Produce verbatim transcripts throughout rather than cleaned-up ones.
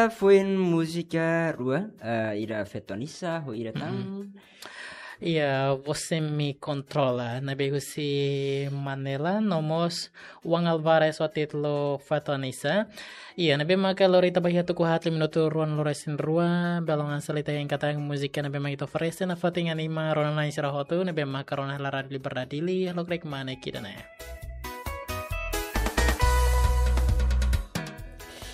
Foin múzika rua, eh, ida Feto Anisa, ho ida tan. Iya, Você Me Controla, ne'ebé husi Manela, no mós Juan Alvarez ho títulu Feto Anisa. Iya, ne'ebé maka lori ita ba iha tuku haat liu minutu ruanulu-resin-rua, belun hanesan ita hein katak múzika ne'ebé mak ita oferese nafatin anima rona-na'in sira hotu, ne'ebé maka rona hela Rádiu Liberdade Dili, lokraik mak ne'e ida-ne'e.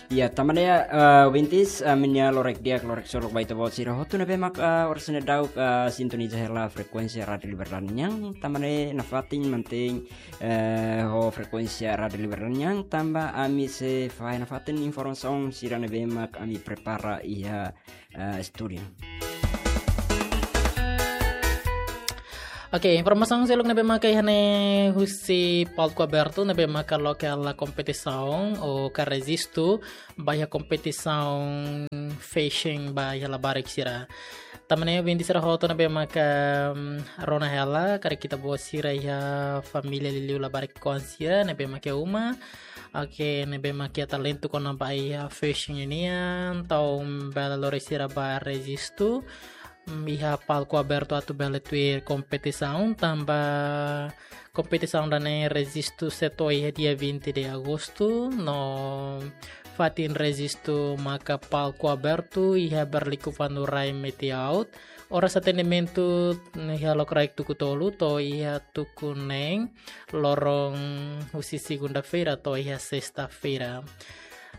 Iya, tanba ne'e, eh, ouvintes, eh, ami-nia lokraik di'ak, lokraik solok ba ita-boot sira hotu ne'ebé mak, eh, oras ne'e daudauk, eh, sintoniza hela frekuénsia Rádiu Liberdade nian, tanba ne'e nafatin mantein, eh, ho frekuénsia Rádiu Liberdade nian, tanba ami sei fahe nafatin informasaun sira ne'ebé mak ami prepara iha, eh, estúdiu. Oke, informasaun seluk ne'ebé maka iha ne'e husi palku abertu ne'ebé maka loke hela kompetisaun ou ka rejistu ba iha kompetisaun fashion ba iha labarik sira. Tanba ne'e ouvintes sira hotu ne'ebé maka, mm, rona hela karik ita-boot sira iha família liuliu labarik-oan sira ne'ebé maka uma. Oke, ne'ebé maka iha talentu kona-ba iha fashion nian, entaun bele lori sira ba rejistu, mm, iha palku abertu atu bele tuir kompetisaun, tanba kompetisaun ida-ne'e rejistu sei to'o iha dia vinte de agosto, no fatin rejistu maka palku abertu iha Berliku Fanu Rai Metiaut, oras atendimentu iha lokraik tuku tolu to'o iha tuku neen, loron husi segunda-feira to'o iha sesta-feira.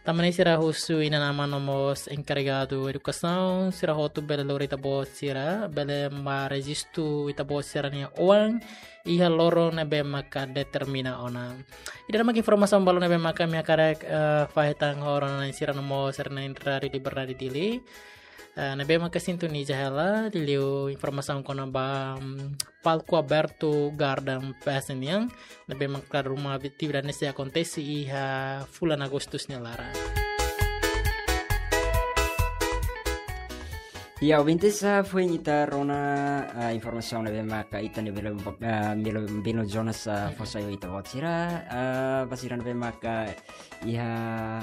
Tanba ne'e sira husu inan-aman no mós enkarregadu edukasaun, sira hotu bele lori ita-boot sira, bele mak rejistu ita-boot sira-nia oan iha loron ne'ebé maka determina ona. Ida-ne'e mak informasaun balun ne'ebé maka ami hakarak, eh, fahe tan ho rona-na'in sira no mós sira-nia Rádiu Liberdade Dili. Eh, ne'ebé maka sintoniza hela, liuliu informasaun kona-ba, mm, palku abertu Garden Fest nian, ne'ebé maka ruma atividade ne'e sei akontese iha fulan Agustus nia laran. Iya, ouvintes, ah, foin ita rona, ah, informasaun ne'ebé maka ita-nia belun, ah, belun, belun Jonas, ah, fó sai ba ita-boot sira, ah, ba sira ne'ebé maka iha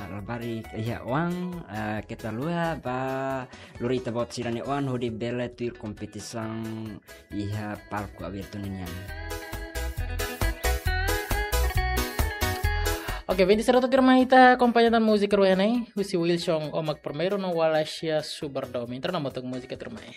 labarik, iha oan, ah, keta haluha ba lori ita-boot sira-nia oan hodi bele tuir kompetisaun iha palku abertu nian. Oke, ouvintes sira, tuirmai ita akompaña tan múzika rua ne'e, husi Wilson Omak Primeiru no Wallachia Subardomi. Entra na motok múzika tuirmai.